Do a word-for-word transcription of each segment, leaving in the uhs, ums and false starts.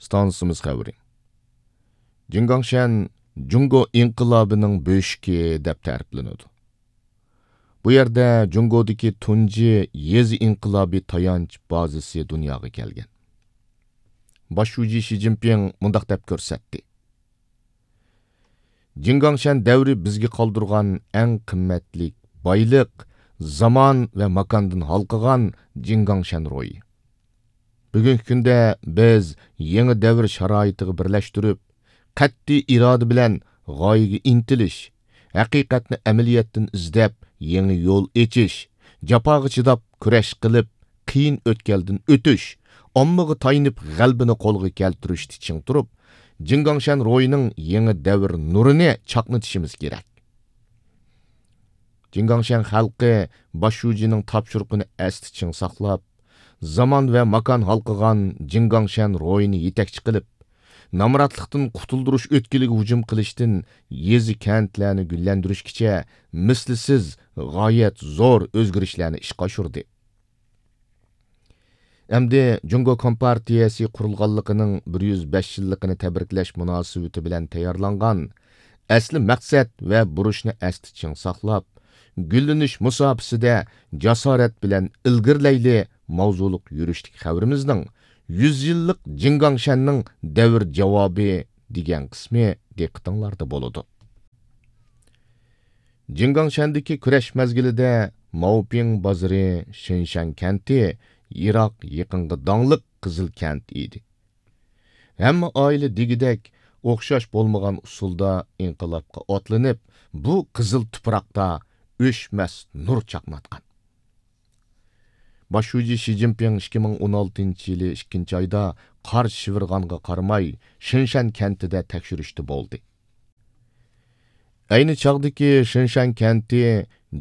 ئىستانسىمىز خەۋىرى. جىڭگاڭشەن جۇڭگو ئىنقىلابىنىڭ بۆشۈكى دەپ تەرىپلىنىدۇ. بۇ يەردە جۇڭگودىكى تۇنجى يېزا ئىنقىلابى تايانچ بازىسى دۇنياغا كەلگەن. باش شۇجى شى جىنپىڭ مۇنداق دەپ كۆرسەتتى: جىڭگاڭشەن دەۋرى بىزگە قالدۇرغان ئەڭ قىممەتلىك بايلىق، زامان ۋە ماكاندىن ھالقىغان جىڭگاڭشەن روھى. بۈگۈنكى كۈندە بىز يېڭى دەۋر شارائىتىغا بىرلەشتۈرۈپ، قەتئىي ئىرادە بىلەن غايىگە ئىنتىلىش، ھەقىقەتنى ئەمەلىيەتتىن ئىزدەپ، يېڭى يول ئېچىش، جاپاغا چىداپ كۈرەش قىلىپ، قىيىن ئۆتكەلدىن ئۆتۈش، ئاممىغا تايىنىپ غەلىبىنى قولغا كەلتۈرۈشتە چىڭ تۇرۇپ، جىڭگاڭشەن روھىنىڭ يېڭى دەۋر نۇرىنى چاقنىتىشىمىز كېرەك. جىڭگاڭشەن خەلقى باش شۇجىنىڭ تاپشۇرۇقىنى ئەستە چىڭ ساقلاپ، زامان ۋە ماكان ھالقىغان جىڭگاڭشەن روھىنى يېتەكچى قىلىپ، نامراتلىقتىن قۇتۇلدۇرۇش ئۆتكىلىگە ھۇجۇم قىلىشتىن يېزا، كەنتلەرنى گۈللەندۈرۈشكىچە مىسلىسىز، غايەت زور ئۆزگىرىشلەرنى ئىشقا ئاشۇردى. ئەمدى جۇڭگو كومپارتىيەسى قۇرۇلغانلىقىنىڭ بىر يۈز بەش يىللىقىنى تەبرىكلەش مۇناسىۋىتى بىلەن تەييارلانغان ئەسلى مەقسەت ۋە بۇرچنى ئەستە چىڭ ساقلاپ، گۈللىنىش مۇساپىسىدە جاسارەت بىلەن ئىلگىرىلەيلى ماۋزۇلۇق يۈرۈشلۈك خەۋىرىمىزنىڭ يۈز يىللىق جىڭگاڭشەننىڭ دەۋر جاۋابى دېگەن قىسمى دىققىتىڭلاردا بولىدۇ. جىڭگاڭشەندىكى كۈرەش مەزگىلىدە ماۋپىڭ بازىرى شېنشەن كەنتى يىراق يېقىنغا داڭلىق قىزىل كەنت ئىدى. ھەممە ئائىلە دېگۈدەك ئوخشاش بولمىغان ئۇسۇلدا ئىنقىلابقا ئاتلىنىپ، بۇ قىزىل تۇپراقتا ئۆچمەس نۇر چاقناتقان. باش شۇجى شى جىنپىڭ ئىككى مىڭ ئون ئالتىنچى يىلى ئىككىنچى ئايدا قار شىۋىرغانغا قارىماي، شېنشەن كەنتىدە تەكشۈرۈشتە بولدى. ئەينى چاغدىكى شېنشەن كەنتى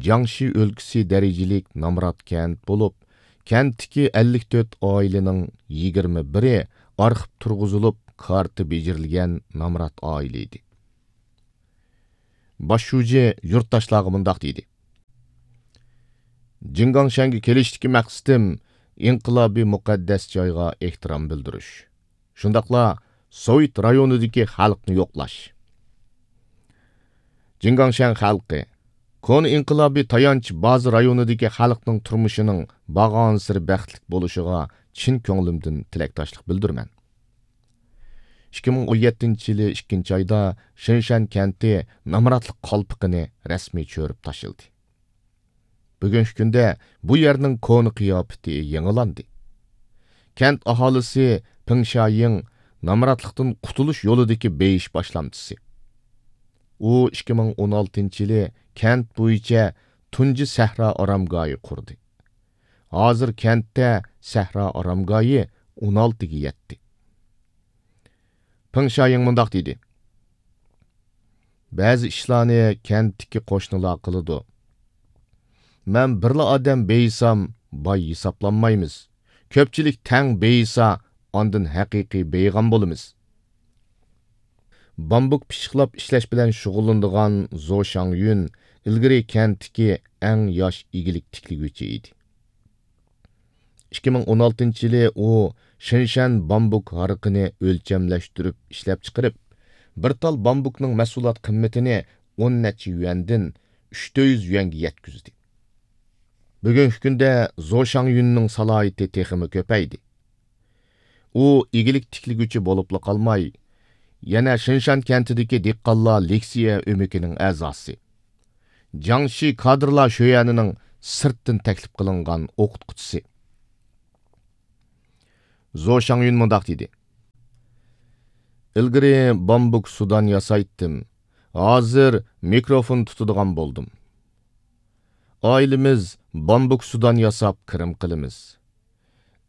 جياڭشى ئۆلكىسى دەرىجىلىك نامرات كەنت بولۇپ، كەنتتىكى ئەللىك تۆت ئائىلىنىڭ يىگىرمە بىرى ئارخىپ تۇرغۇزۇلۇپ، كارتا بېجىرىلگەن نامرات ئائىلە ئىدى. باش شۇجى يۇرتداشلارغا مۇنداق دېدى: جىڭگاڭشەنگە كېلىشتىكى مەقسىتىم ئىنقىلابىي مۇقەددەس جايغا ئېھتىرام بىلدۈرۈش، شۇنداقلا سوۋېت رايونىدىكى خەلقنى يوقلاش. جىڭگاڭشەن خەلقى، كونا ئىنقىلابىي تايانچ بازا رايونىدىكى خەلقنىڭ تۇرمۇشىنىڭ بارغانسېرى بەختلىك بولۇشىغا چىن كۆڭلۈمدىن تىلەكداشلىق بىلدۈرىمەن. ئىككى مىڭ ئون يەتتىنچى يىلى ئىككىنچى ئايدا شېنشەن كەنتى نامراتلىق قالپىقىنى رەسمىي چۆرۈپ تاشلىدى. بۈگۈنكى كۈندە بۇ يەرنىڭ كونا قىياپىتى يېڭىلاندى. كەنت ئاھالىسى پېڭ شياڭ نامراتلىقتىن قۇتۇلۇش يولىدىكى بېيىش باشلامچىسى. ئۇ ئىككى مىڭ ئون ئالتىنچى يىلى كەنت بويىچە تۇنجى سەھرا ئارامگاھى قۇردى. ھازىر كەنتتە سەھرا ئارامگاھى ئون ئالتىگە يەتتى. پېڭ شياڭ مۇنداق دېدى: بەزى ئىشلارنى كەنتتىكى قوشنىلار قىلىدۇ. مەن بىرلا ئادەم بېيىسام، باي ھېسابلانمايمىز. كۆپچىلىك تەڭ بېيىسا، ئاندىن ھەقىقىي بېيىغان بولىمىز. بامبۇك پىششىقلاپ ئىشلەش بىلەن شۇغۇللىنىدىغان زو شاڭيۈن ئىلگىرى كەنتتىكى ئەڭ ياش ئىگىلىك تىكلىگۈچى ئىدى. ئىككى مىڭ ئون ئالتىنچى يىلى ئۇ شېنشەن بامبۇك ھارىقىنى ئۆلچەملەشتۈرۈپ ئىشلەپچىقىرىپ، بىر تال بامبۇكنىڭ مەھسۇلات قىممىتىنى ئون نەچچە يۈەندىن ئۈچ يۈەنگە يەتكۈزدى. بۈگۈنكى كۈندە زو شاڭيۈننىڭ سالاھىيىتى تېخىمۇ كۆپەيدى. ئۇ ئىگىلىك تىكلىگۈچى بولۇپلا قالماي، يەنە شېنشەن كەنتىدىكى دېھقانلار لېكسىيە ئۆمىكىنىڭ ئەزاسى، جياڭشى كادىرلار شۆيەنىنىڭ سىرتتىن تەكلىپ قىلىنغان ئوقۇتقۇچىسى. زو شاڭيۈن مۇنداق دېدى: ئىلگىرى بامبۇك سۇدان ياسايتتىم، ھازىر مىكروفون تۇتىدىغان بولدۇم. ئائىلىمىز بامبۇك سۇدان ياساپ كىرىم قىلىمىز.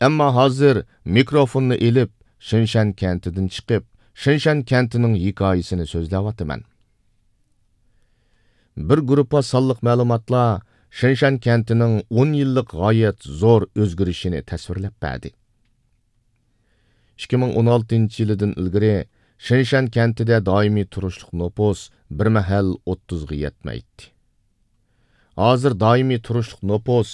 ئەمما ھازىر مىكروفوننى ئېلىپ، شېنشەن كەنتىدىن چىقىپ، شېنشەن كەنتىنىڭ ھېكايىسىنى سۆزلەۋاتىمەن. بىر گۇرۇپپا سانلىق مەلۇماتلار شېنشەن كەنتىنىڭ ئون يىللىق غايەت زور ئۆزگىرىشىنى تەسۋىرلەپ بەردى. ئىككى مىڭ ئون ئالتىنچى يىلىدىن ئىلگىرى شېنشەن كەنتىدە دائىمىي تۇرۇشلۇق نوپۇس بىر مەھەل ئوتتۇزغا يەتمەيتتى. ھازىر دائىمىي تۇرۇشلۇق نوپۇس